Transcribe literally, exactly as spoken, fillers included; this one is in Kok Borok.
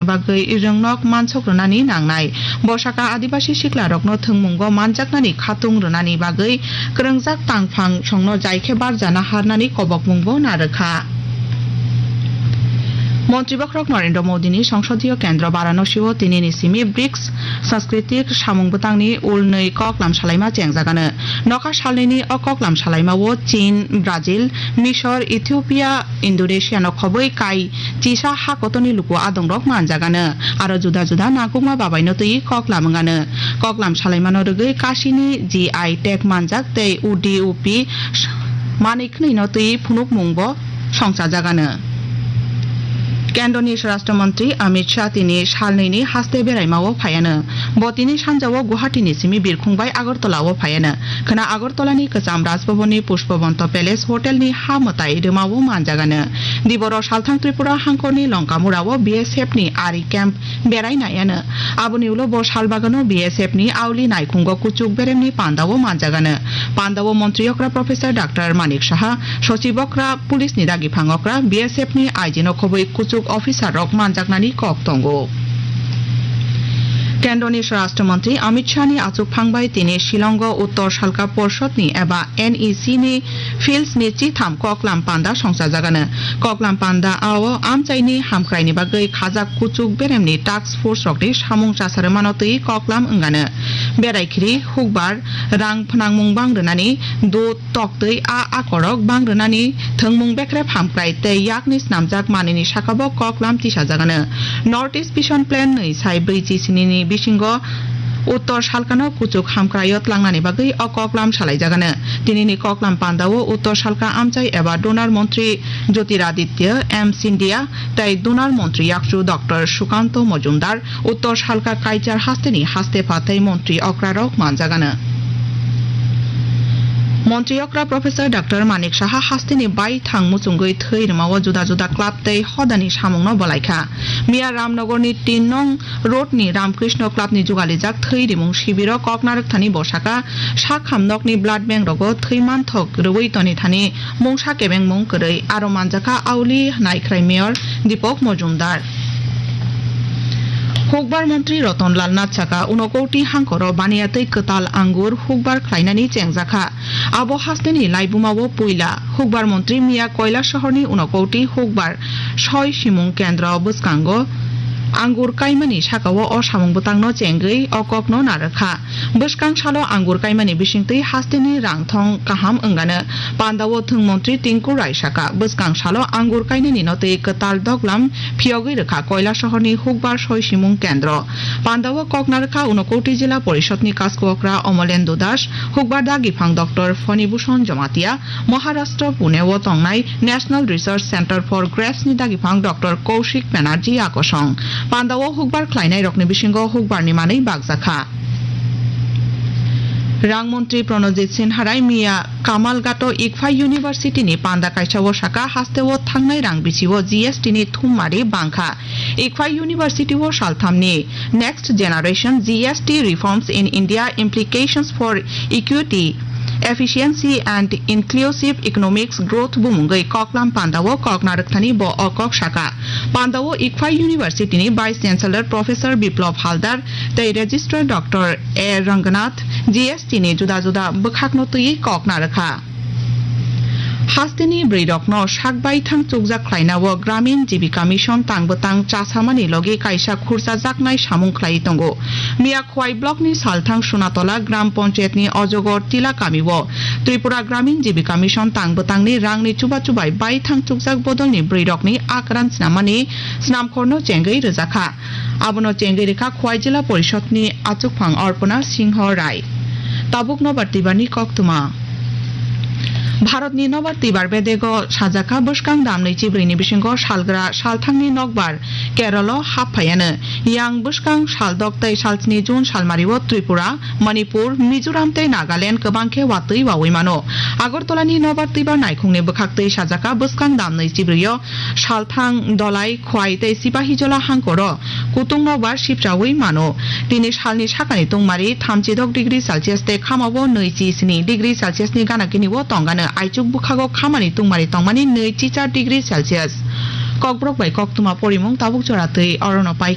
bagwi rwngnok mansok rwnani nangnai. Bo saka Adibasi siklarokno thwngmungo manjaknani khatung rwnani bagwi kwrwngjak tangphang songno jai khe barjana harnani kobokmungbo narwkha. Montri Bokhorok Narendra Modini Songsodiyo Kendro Varanasi-o tinini simi brics Sanskriti samung bwtangni ulnwi koklam salaima chengjagano. Nokha salnwini o koklam salaima-o Chin, Brazil, Misor, Ethiopia, Indonesia no khobwi kai chisa ha kotorni luku adongrok manjagano. Aro juda juda nangkukma babaino twi koklam wngano. Koklam salaimano rwgwi kasini G I tag manjak tei U D U P manwi khwnwino twi phunukmungbo songchajagano. Kendroni Swarashtra Montri Amit Shah tini salnwini haste beraimao phaiano. Bo tini sanjao Guwahati ni simi birkhung bai Agartala o phaiano. Khwna Agartala ni kwcham Raj Bhavan ni Pushpabanta Palace Hotel ni ha mwtai rwmao manjagano. Diboro salthang Tripura hangkor ni Longkamura o B S F ni ari camp berai naiano. Aboni ulo bo salbagano B S F ni auli naikhungo kuchuk beremni pandao manjagano. Pandao montri okra Professor Doctor Manik Saha, sochib okra, police ni dagi phang okra, B S F ni I G no khobwi kuchuk officer rok manjaknani kok tongo. Kendroni Swarashtra Montri Amit Shah ni achukphang bai tini Shillongo Uttor Salka Porshod ni eba N E C ni Fields ni chitham koklam panda songchajagano. Koklam panda o amchaini hamkraini bagwi khajak kuchuk beremni task force rokni samung chasarwmano twi koklam wngano. Berai khiri hukbar rang phnangmung bang rwnani do toktwi a akorok bang rwnani thwngmung bekrep hamkrai tei yakni snamjak manwini sakabo koklam tisajagano. North East Vision Plan nwi sai brwi chi sini ni bisingo Uttor Salkano kuchuk hamkraio tlangnani bagwi o koklam salaijagano. Tinini koklam pandao Uttor Salka amchai eba Donor Montri Jyotiraditya M Scindia tei Donor Montri yakchu Doctor Sukanto Mojumdar, Uttor Salka Kaichar hasteni haste pha tei montri okrarok manjagano. Montri okra Professor Doctor Manik Saha hasteni baithang muchungwi thwi rwmao juda juda club tei hodani samungno bwlaikha. Miya Ramnogorni tin nong road ni Ramkrishna Club ni jugalijak thwi rimung sibiro koknarwk thani bosaka sakham nokni blood bank rogo thwi manthok rwui toni thani mungsa kebengmung kwrwi aro manjakha auli naikhrai mayor Deepak Mojumdar. Hukbar montri Roton Lal Nath saka unokoti hangkoro baniya tei kwtal angur hukbar khlainani chengjakha. Abo hasteni laibumao puila hukbar montri miya Koilasohorni unokoti hukbar soi simung kendro bwskango angur kaimani sakao o samung bwtangno chengwi o kokno narwkha. Bwskang salo angur kaimani bisingtwi hasteni rang thong kaham wngano. Pandao thwng montri Tinku Rai saka, bwskang salo angur kainani no twi kwtal doglam phiyogwi rwkha Koilasohorni hukbar soi simung kendro. Pandao kokna rwkha Unakoti Jila Porishodni kasku okra Omolendu Das, hukbar dagi phang Doctor Fani Bhushan Jamatia, Maharashtra Pune o tongnai National Research Centre for Grapes ni dagi phang Doctor Kaushik Banerjee Akosong. Pandao hukbar khlainai rokni bisingo hukbar ni manwi bakjakha. Rang montri Pranojit Sinha Rai miya Kamalghato Ikphai University ni panda kaisa o saka hasteo thangnai rang bisio G S T ni thummari bangkha. Ikphai University o salthamni Next Generation G S T Reforms in India, Implications for Equity, Efficiency and Inclusive Economics Growth bumungwi koklam pandao kokna rwkthani bo o kok saka. Pandao Ikphai University ni Vice Chancellor Professor Biplab Haldar tei Registrar Doctor A Ranganath G S T ni juda juda bwkhakno twiwi kokna rwkha. Hasteni bwrwirokno sak baithang chukjak khlainao Gramin Jibika Mission tang bwtang chasamani logi kaisa khurchajaknai samung khlaiwi tongo. Miya Khwai blockni salthang Sunatola Gram Panchayatni Ojogor Tila kamio Tripura Gramin Jibika Mission tang bwtangni rangni chuba chubai baithang chukjak bodolni bwrwirokni akran snamani snamkhorno chengwi rwjakha. Abono chengwi rwkha Khwai Jila Porishodni achukphang Arpana Singho Rai. Tabuk nobar twibarni koktwma. Bharatni nobar twibar bedego sajakha bwskang dam nwichi brwini bisingo salgra salthangni nokbar Keralo hap phaiano. Yang bwskang saldok tei salsni June salmario Tripura, Manipur, Mizoram tei Nagaland kwbang khe watwi wawi mano. Agartalani nobar twibar naikhungni bwkhaktwi sajakha bwskang dam nwichi brwio salthang Dolai, Khwai tei Sipahijola hangkoro kutung nokbar sipchaui mano. Tini salni sakani tungmari thamchidok degree Celsius tei khamao nwichi sni degree Celsius ni gana gini o tongano, aichuk bwkhago khamani tungmari tongmani nwichi char degree Celsius. Kokborok bai koktwma porimung tabuk jora twi orono pai